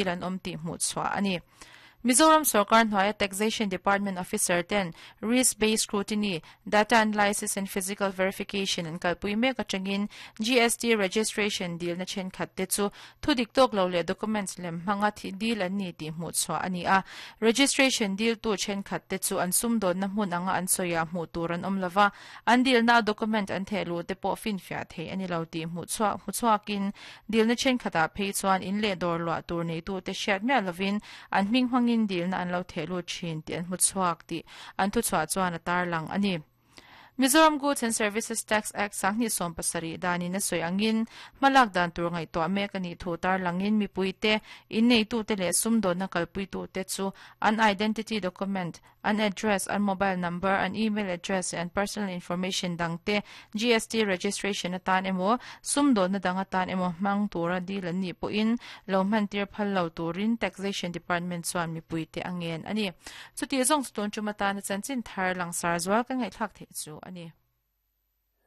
An awm tih hmuh chhuah a ni. Mizoram sorkar hnuaia Taxation Department officer ten Risk Based Scrutiny, Data Analysis and Physical Verification an kalpui mek atangin GST registration dilna thenkhat te chu thu dik tawk lo leh documents lem hmanga thih dil an ni tih hmuh chhuah a ni a. Registration diltu thenkhat te chu an sumdawnna hmun anga an sawiah hmuh tur an awm lova, an dilna a document an theh luh te pawh finfiah theih a ni lo tih hmuh chhuah hmu chhuakin Dilna thenkhatah phei chuan in leh dawr luah tur neitute hriat miah lovin an hming hmangin dilna an lo theh lut thin tih an hmu chhuak tih an thuchhuah chuan a tarlang a ni. Mizoram Goods and Services Tax Act 2017 danin a sawi angin hmalak dan tur ngaihtuah mek a nih thu tarlangin mipuite, inneitute leh sumdawnna kalpuitute chu an identity document, An address, an mobile number, an email address leh an personal information dang te GST registration atan emaw, sumdawnna dang atan emaw hmang tura deal an nih pawhin lo hmantir phal lo turin Taxation Department chuan mipuite a ngen a ni. Chutih zawng chu tun tum atana chanchin thar langsar zual kan ngaihthlak theih chu a ni.